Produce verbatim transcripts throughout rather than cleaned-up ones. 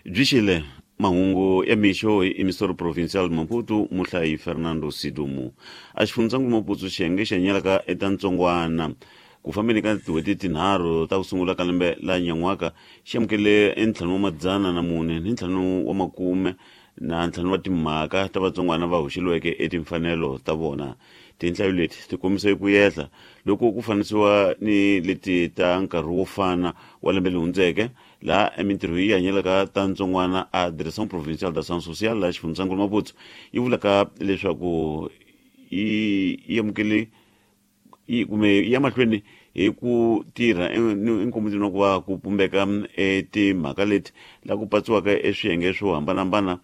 Byi xile mahungu ya mixo hi emissor provincial Maputo muhlayi Fernando Sidumu. A xifundzankulu Maputo xiyenge xi hanyelaka eta ntsongwana ku fambeni ka tin'hweti tinharhu ta ku sungula ka lembe la nyan'waka xi amukele entlhanu wa madzana na mune ni ntlhanu wa makume na ntlhanu wa timhaka ta vatsongwana va hoxeliweke etimfanelo ta vona. Tinhlayo leti ti kombisa ku yehla loko ku fanisiwa ni leti ta nkarhi wo fana wa lembe leri hundzeke laha emintirho yi hanyelaka ta ntsongwana a Direction Provinciale d'Action Sociale laha xifundzankulu Maputo yi vulaka leswaku yi yi amukele yi kumbe ya mahlweni hi ku tirha enkombisweni wa ku va ku pumbeka timhaka leti la ku patsiwaka eswiyenge swo hambanahambana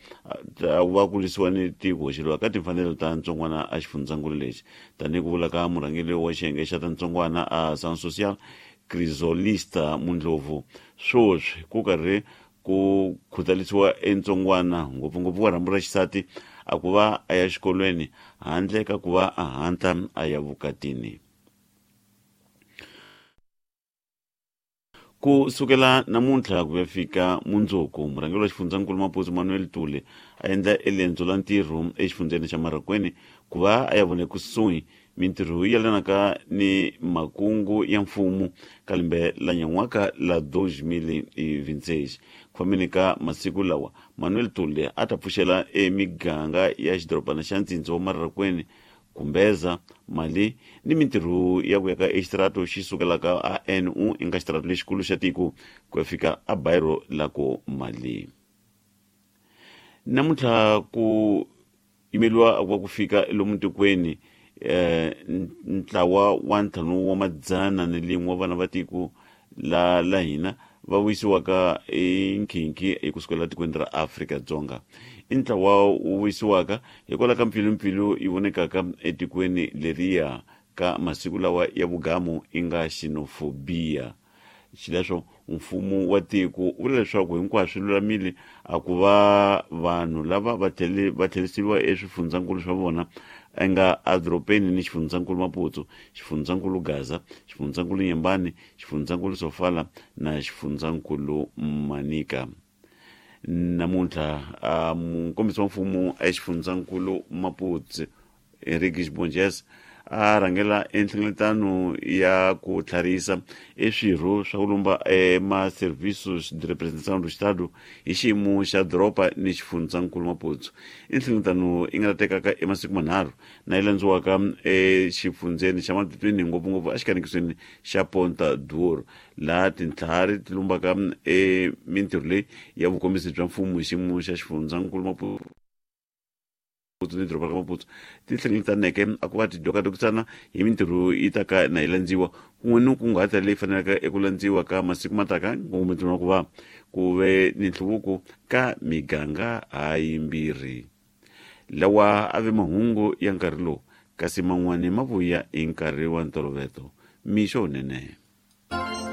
ta va ku lwisiwa ni ti ku hoxeliwa ka timfanelo ta ntsongwana a xifundzankulu lexi tanihi ku vula ka murhangeri wa xiyenge xa ta ntsongwana a Action Sociale Crisolista Mundlovu. Swoswi ku karhi ku khutalisiwa entsongwana ngopfungopfu wa rhambu ra xisati a ku va a ya xikolweni handle ka ku va a hatla a ya vukatini. Ku sukela namuntlha ku ya fika mundzuku murhangeri wa xifundzankulu Maputo Manuel Tule a endla elendzo la ntirho exifundzeni xa Marraquene ku va a ya vona kusuhi mintirho yi yelanaka ni makungu ya mfumo ka lembe la nyan'waka la dos mil e vinte e seis. Ku fambeni ka masiku lawa Manuel Tule a ta pfuxela emiganga ya xidorobana xa ntsindza wa Marraquene kumbeza mali ni mintirho ya ku ya ka exirato xi sukelaka a N U i nga xitirato lexikulu xa tiko ku ya fika a bairo la ku mali. Namuntlha ku yimeliwa wa ku fika lomu tikweni eh ntlawa wa ntlhanu wa madzana ni lin'we wa vana va tiko la la hina va vuyisiwaka enkhinkhi hi kusukela tikweni ra Afrika-Dzonga. I ntlawa wu vuyisiwaka hikwalaho ka mpfilumpfilu yi vonekaka etikweni leriya ka masiku lawa ya vugamu i nga xenophobia. Xileswo mfumo wa tiko wu vula leswaku hinkwaswo swi lulamile a ku va vanhu lava va tlhele va tlheriseriwa eswifundzankulu swa vona nga edorobeni ni xifundzankulu Maputo, xifundzankulu Gaza, xifundzankulu Nyembani, xifundzankulu Sofala na xifundzankulu Manica. Namuntlha mukombisi wa mfumo exifundzankulu Maputo Henrique Bonges a rhangela enhlengeletano ya ku tlharisa eswirho swa ku lumba ema-serviços de representação do Estado hi xiyimo xa doroba ni xifundzankulu Maputo. I nhlengeletano yi nga ta tekaka emasiku manharhu na yi landziwaka exifundzeni xa Matutuini ngopfungopfu exikanekisweni xa Ponta do Ouro laha tintlhari ti lumbaka emintirho leyi ya vukombisi bya mfumo hi xiyimo xa xifundzankulu Maputo ni doroba ra Maputo ti hlengeletaneke a ku va ti dokadokisana hi mintirho yi ta ka na yi landziwa kun'we ni kunguhata leyi faneleke eku landziwa ka masiku mataka ngopfu ku va ku ve ni nhluvuko ka miganga hayimbirhi. Lawa a ve mahungu ya nkarhi lowu kasi man'wani ma vuya hi nkarhi wa ntolovelo. Mixo wunene.